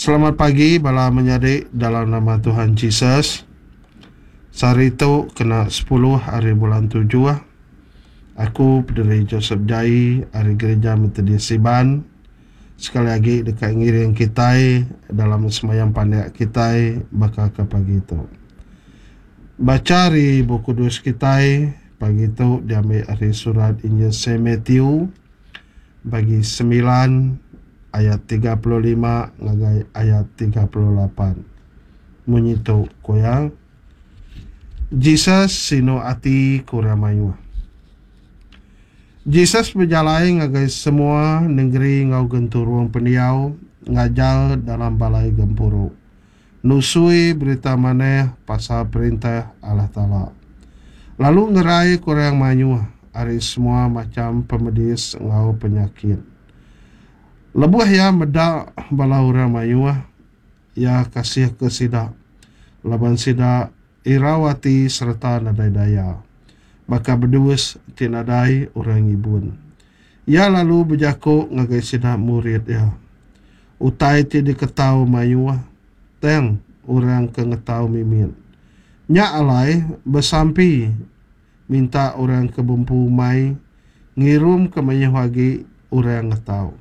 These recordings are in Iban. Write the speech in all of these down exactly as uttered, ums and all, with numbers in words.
Selamat pagi bala menyadi dalam nama Tuhan Jesus. Sehari tu kena sepuluh hari bulan tujuh. Aku Pederi Joseph Jai ari Gereja Methodist Iban sekali agi deka ngiring kitai dalam semayang pandak kitai baka ke pagi tu. Bacha ari Bup Kudus kitai pagi tu diambi ari surat Injil Saint Matthew bagi semilan ayat tiga puluh lima ngagai ayat tiga puluh lapan. Munyi tu ku iya, Jesus sinu ati ke orang mayuh. Jesus bejalai ngagai semua nengeri enggau genturung pendiau ngajar dalam balai gempuru, nusui berita manah pasal Perintah Allah Taala, lalu ngerai ke orang mayuh ari semua macham pemedis enggau penyakit. Lebuh iya meda bala orang mayuh, iya kasihka sida, laban sida irau ati sereta nadai daya, baka bedus ti nadai orang ngibun. Iya lalu bejaku ngagai sida murid iya, Utai ti diketau mayuh, tang orang ke ngetau mimit. Nya alai besampi minta orang ke bempu umai ngirumka mayuh agi orang ngetau.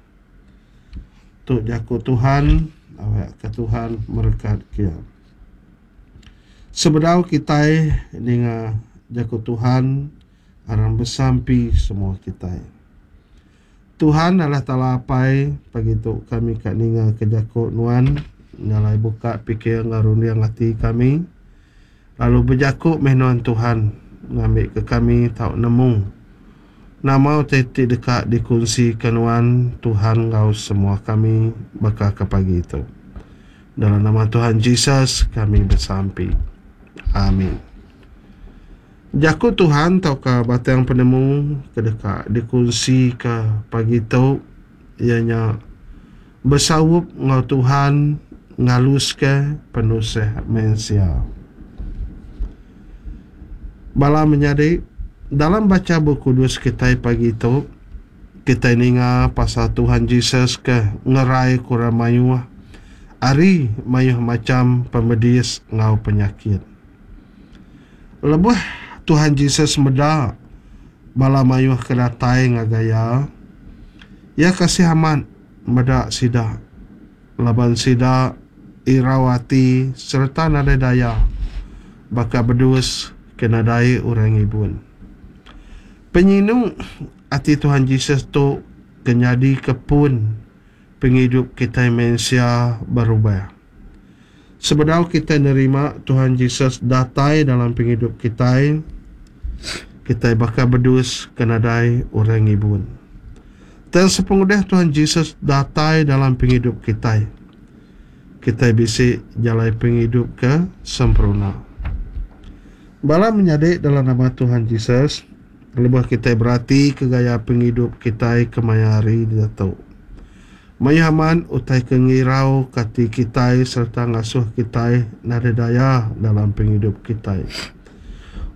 Tu jaku Tuhan, awakka Tuhan merekatka iya. Sebedau kitai ninga jaku Tuhan, aram besampi semua kitai. Tuhan Allah Taala Apai, pagi tu kami ka ninga ke jaku Nuan, nyalai buka pikir enggau runding ati kami, lalu bejaku meh Nuan Tuhan, ngambika kami tau nemu nama utai ti deka dikunsika Nuan Tuhan enggau semua kami baka ke pagi tu. Dalam nama Tuhan Jesus kami besampi. Amin. Jaku Tuhan tauka batang penemu ke deka dikunsika pagi tu iya nya besaup enggau Tuhan ngaluska penusah mensia. Bala menyadi, dalam bacha Bup Kudus kitai pagi tu, kitai ninga pasal Tuhan Jesus ke ngerai ke orang mayuh ari mayuh macham pemedis enggau penyakit. Lebuh Tuhan Jesus meda bala mayuh ke datai ngagai iya, iya kasih amat meda sida laban sida irau ati sereta nadai daya baka bedus ke nadai orang ngibun. Penyinu ati Tuhan Jesus tu ke nyadika pun pengidup kitai mensia berubah. Sebedau kitai nerima Tuhan Jesus datai dalam pengidup kitai, kitai baka bedus ke nadai orang ngibun. Tang sepengudah Tuhan Jesus datai dalam pengidup kitai, kitai bisi jalai pengidup ke sempurna. Bala menyadi dalam nama Tuhan Jesus, lebuh kitai beratika gaya pengidup kitai kemaya hari diatu, mayuh amat utai ke ngirauka ati kitai sereta ngasuh kitai nadai daya dalam pengidup kitai.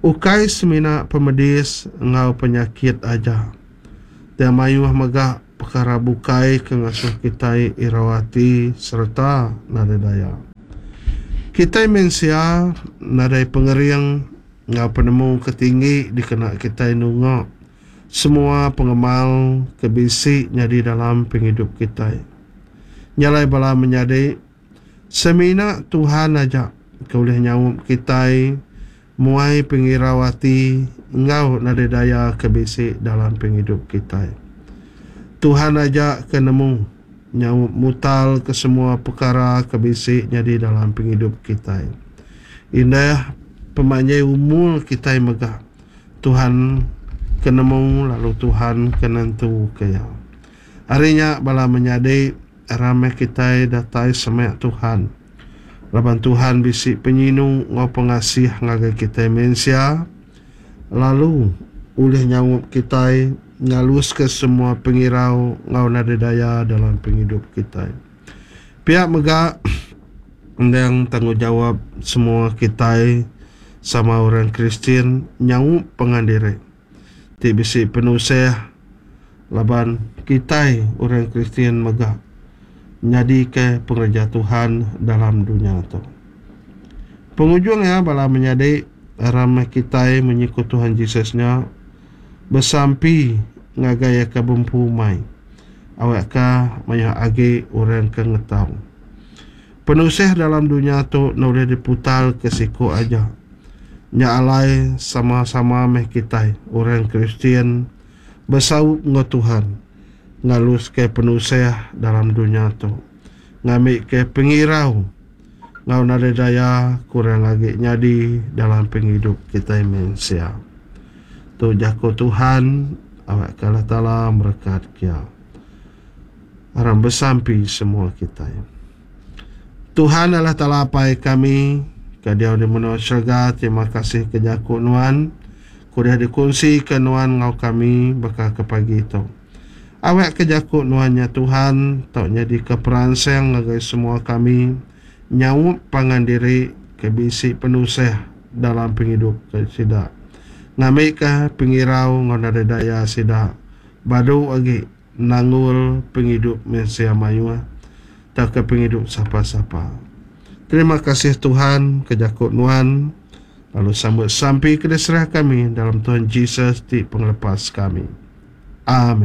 Ukai semina pemedis enggau penyakit aja, tang mayuh mega pekara bukai ke ngasuh kitai irau ati sereta nadai daya. Kitai mensia nadai pengering enggau penemu ke tinggi dikena kitai nunga semua pengemal ke bisi nyadi dalam pengidup kitai. Nya alai bala menyadi, semina Tuhan aja ke ulih nyaup kitai muai pengirau ati enggau nadai daya ke bisi dalam pengidup kitai. Tuhan aja ke nemu nyaup mutal ke semua pekara ke bisi nyadi dalam pengidup kitai. Indah pemanjai umur kitai mega Tuhan ke nemu lalu Tuhan ke nentuka iya. Ari nya bala menyadi, aram meh kitai datai semak Tuhan. Laban Tuhan bisi penyinu enggau pengasih ngagai kitai mensia, lalu ulih nyaup kitai ngaluska semua pengirau enggau nadai daya dalam pengidup kitai. Pia mega, endang tanggungjawap semua kitai sama orang Kristian nyaup pangan diri ti bisi penusah laban kitai orang Kristian mega Nyadika pengereja Tuhan dalam dunya tu. Pengujung iya bala menyadi aram meh kitai munyi ku Tuhan Jesus nya besampi ngagai iya ke bempu umai awakka mayuh agi orang ke ngetau. Penusah dalam dunya tu enda ulih diputar ke siku aja. Nya alai sama-sama meh kitai orang Kristian besaup enggau Tuhan ngaluska penusah dalam dunya tu ngambika pengirau enggau nadai daya kurang agi nyadi dalam pengidup kitai mensia. Tu jaku Tuhan awakka Allah Taala merekat kia. Aram besampi semua kitai. Tuhan Allah Taala Apai kami ke diau di menua serega terima kasih ke jaku nuan ke udah dikunsika nuan enggau kami baka ke pagi tu. Awakka jaku nuan nya Tuhan tau nyadika peransang ngagai semua kami nyaup pangan diri ke bisi penusah dalam pengidup sida ngambika pengirau enggau nadai daya sida badu agi nanggul pengidup mensia mayuh tauka pengidup sapa-sapa. Terima kasih Tuhan ke jaku nuan lalu sambut sampi ke diserah kami dalam Tuhan Jesus ti pengelepas kami. Amin.